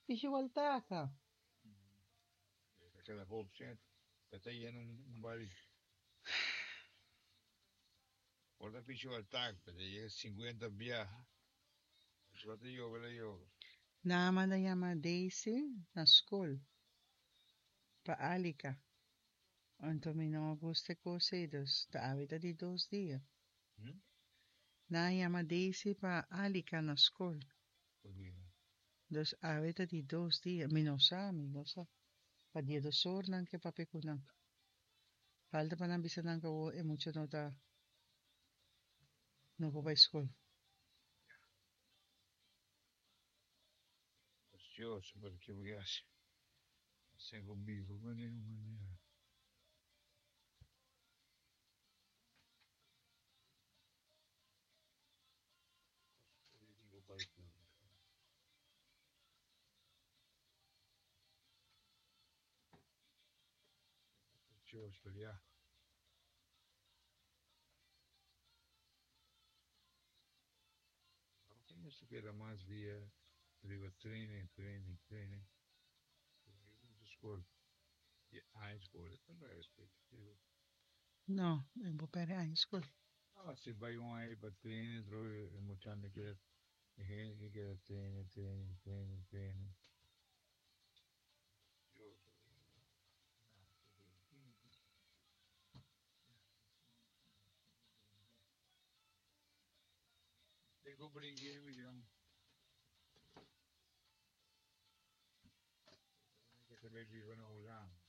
Pishi Waltaka. Kada hoop sent, e ta yena un bari. Por ta pishi Waltaka, ta yega 50 biaha. Tabata yobe la yobe. Nan a manda yama Daisy na skol pa Alika. Anto mi no a gusta e kos ei, dus ta awe ta di dos dia. Nan a yama Daisy pa Alika na skol. Dus awe ta di dos dia. Mi no sa, mi no sa. Pa dia dos or nan ke papia ku nan. Falta pa nan bisa nan ku awor e mucha no ta no por bai skol. Dios, pero ke bo hasi? Sin ku biba pa ningun manera. Dios, pero ya. Mester keda mas dia riba training, training, training. Skol. Di aña skol. No, e bo perde aña skol. Ah, si bai un aña pa training, e muchanan keda, e hende keda training, training, training, training. Tengo brinque, mi Que se ve vivo na Hulanda.